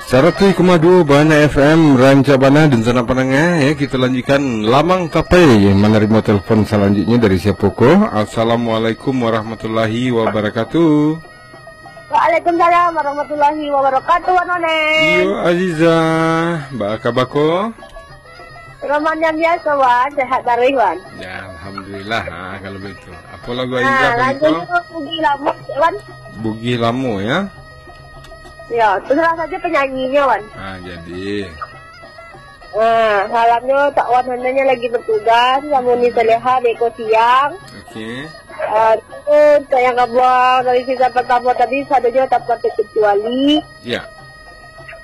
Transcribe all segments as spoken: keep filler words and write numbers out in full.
Saratuih koma duo Bahana F M, rancak bana dunsanak pandanga, ya, kita lanjutkan Lamang Tapai, manarimo telepon salanjutnyo dari siapo ko? Assalamualaikum warahmatullahi wabarakatuh. Waalaikumsalam warahmatullahi wabarakatuh, Wan Onen. Iyo, Aziza, baa kaba ko? Roman yang biasa, Wan, sehat taruih, Wan. Ya, alhamdulillah, ha, kalau begitu. Apo lagu Aziza kali ko? Lagu Bugih Lamo, Wan. Bugih Lamo, ya? Ya, terserah saja penyanyinya, Wan. Ah, jadi. Ah, salamnya tak Wan Hananya lagi bertugas, sama Uni Saleha, Deko Siang. Oke. Ah, tu untuk yang kabuang dari season pertama tadi, sadonyo tanpa terkecuali. Ya.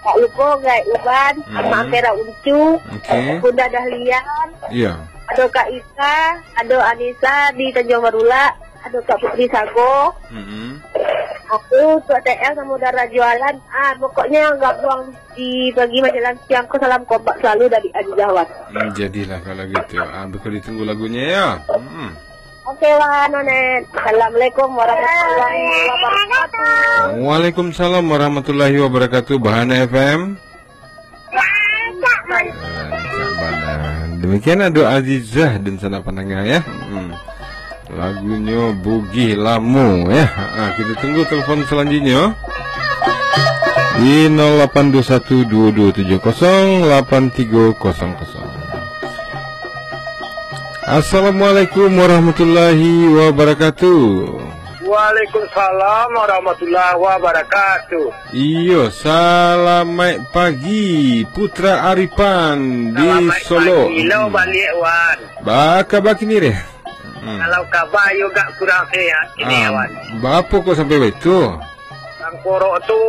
Tak lupa Gai Uban, Amak Ampera Uncu, Oke. Bunda Dahlian, Ya. Ado Kak Ika, ado Anissa di Tanjung Marulak, ado Kak Putri Sago. Mm-mm. Aku, Tok T L sama Dara Jualan. Ah, pokoknya yang gabung di pagi menjelang siang ko, salam kompak selalu dari Aziza, Wan. Hmm, jadilah kalau gitu. Ah, beko ditunggu lagunya ya. Hmm. Oke, Wan Onen. Assalamualaikum warahmatullahi wabarakatuh. Waalaikumsalam warahmatullahi wabarakatuh. Bahana F M. Rancak bana. Demikian Ado Azizah dan sanak pandanga ya. Hmm. Lagunyo Bugih Lamo ya. Ha, kita tunggu telepon selanjutnya di nol lapan dua satu dua dua tujuh kosong lapan tiga kosong kosong. Assalamualaikum warahmatullahi wabarakatuh. Waalaikumsalam warahmatullahi wabarakatuh. Iyo, salamaik pagi, Putra Aripan di Solok. Salamaik pagi lo baliak, Wan. Baa kaba kini deh? Hmm. Kalau kaba yo gak kurang sehat kini, Wan. Baa kok sampai baitu? Tangkorok tu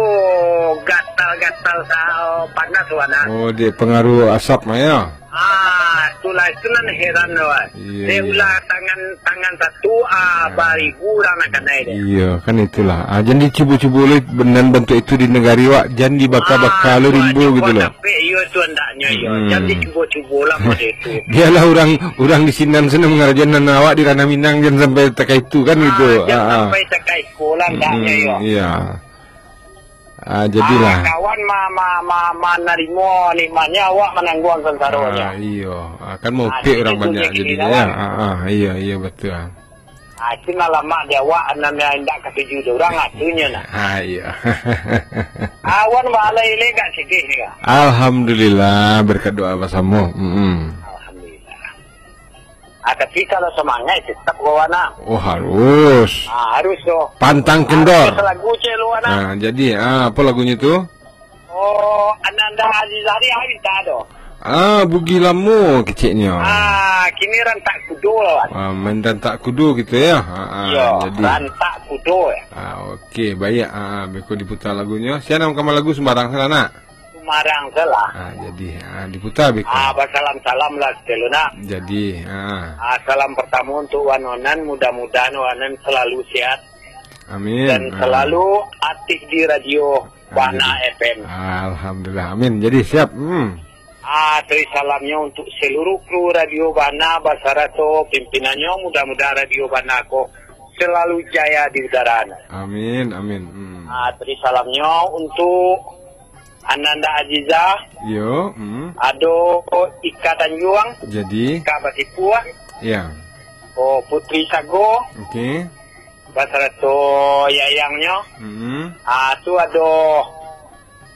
gatal-gatal sa-, panas, Wan, ah. Oh, dek pengaruh asap mah ya? Ah, itulah, itu nan heran tu, Wan. Iyo, Dek iyo. Ulah tangan, tangan satu, ah, baribu urang nak kanai dek. Iyo, kan itulah. Ah, jan dicubo-cubo lo nan bantuak itu di nagari wak, jan dibaka-baka lo rimbo gitu lo. Iyo tu andaknyo, iyo. Hmm. Jan dicubo-cubo lah model itu. Biarlah urang, urang di sinan sana mangarajoan nan awak di Ranah Minang, jan sampai takaitu kan gitu. Ah, jan sampai takaitu lah andaknyo, iyo. Iya. Ah, jadilah. Ah, kawan ma-, ma-, ma-, manarimo nikmatnyo, awak manangguang sansaronyo. Ah, iyo. Ah, kan maupik urang banyak jadinyo, ya. Ah, ah, iyo, iyo, betul. Ah, itu nan lamak di awak, nan indak katuju di urang, ah, tunyo nah. Ah, iyo. Awan baalai le gak sedih ni, Kak. Alhamdulillah, berkat doa basamo. Mm-mm. Alhamdulillah. Ah, tapi kalau semangat tetap kawan, ah. Oh, harus. Ah, harus tu. Pantang kendor. Harus lagu cek lu, anak. Ah, jadi, ah, apa lagunyo tu? Oh, Ananda Aziz Hari, hari tak ada. Ah, Bugih Lamo keceknyo. Ah, kini Rantak Kudo lah, Wan. Ah, main Rantak Kudo gitu ya. Ah, ah, Yo, jadi. Rantak Kudo ya. Ah, okey, baik. Ah, beko diputar lagunyo. Sia nan mangkaman lagu sumbarang sanak. Sumarang salah. Ah, jadi, ah, diputar beko. Ah, basalam-salam lah, sekali nak. Jadi, ah. Ah, salam pertama untuk Wan Onan, mudah-mudahan Wan Onan selalu sehat. Amin. Dan amin. Selalu aktif di radio Bana F M. Alhamdulillah. Amin. Jadi siap. Hmm. Ah, teri salamnya untuk seluruh kru Radio Bana basarato pimpinannya. Mudah-mudahan Radio Bana ko selalu jaya di udara. Amin, amin. Hmm. Ah, teri salamnya untuk Ananda Aziza. Yo, hmm. Ado Ika Tanjuang. Jadi. Ika Batipuah. Ya. Oh, Putri Sago. Okey. Basarato yayangnyo. Hmm. Ah, tu ado,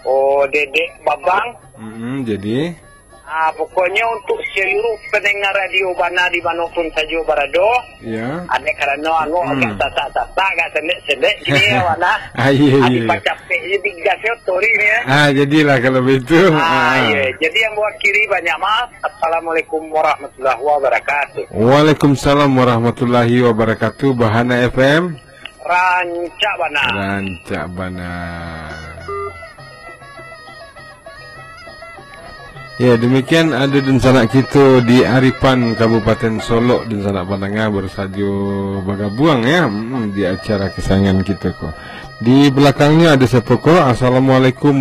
oh, Dedek Babang. Hmm, jadi. Ah, pokoknya untuk seluruh pendengar Radio Bana di mana pun saja berada. Ya. Ada kerana anu agak sasak-sasak, agak sendek-sendek gini ya, Wan, ah. Ah, iya, iya, iya. Dipacapek je di gasnya, sorry ni ya. Ah, jadilah kalau begitu. Ah, iya. Jadi yang mewakili banyak maaf. Assalamualaikum warahmatullahi wabarakatuh. Waalaikumsalam warahmatullahi wabarakatuh. Bahana F M. Rancak bana. Rancak bana. Ya, demikian ado dunsanak kito di Aripan, Kabupaten Solok, dunsanak pandanga baru sajo bagabuang, ya, mm, di acara kesayangan kito ko. Di balakangnyo ado siapo ko? Assalamualaikum